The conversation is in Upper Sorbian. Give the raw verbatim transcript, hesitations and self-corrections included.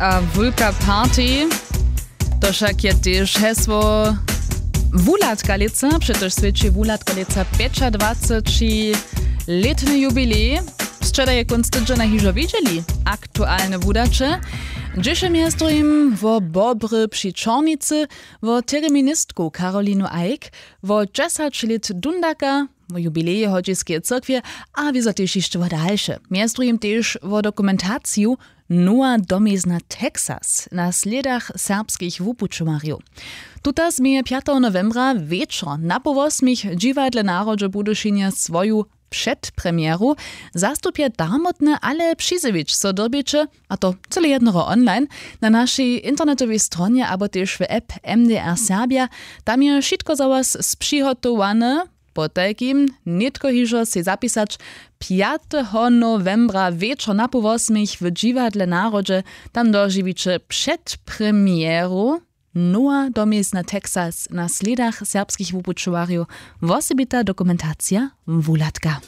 A wulka party, to wšak je tež hesło wuhladka lětsa, přetož swědči wuhladka lětsa pjećadwaceći lětny jubilej. Sćeda je kónc tydźena hižo widźeli aktualne wudaće, hdźež je mjez druhim wo bobry při čornicy, wo tereministku karolinu eick, wo dźesać lět dundaka, wo jubileje hodźiskeje cyrkwje a wězo tež hišće wo dalše, mjez druhim tež wo dokumentaciju nowa domizna texas na slědach serbskich wupućowarjow. Tuta změje pjateho nowembra wječor na poł wosmich w dźiwadle narodźe w budyšinje swoju předpremjeru. Zastupje darmotne ale přizjewić so dyrbjeće, a to cyle jednoho online, na našej internetowej stronje abo tež w app mdr serbja. Tam je wšitko za was spřihotowane. Potajkim nětko hižo sej zapisać pjateho nowembra wječor na poł wosmich w dźiwadle narodźe. Tam dožiwiće předpremjeru nowa domizna texas na slědach serbskich wupućowarjow, wosebita dokumentacija wuhladka.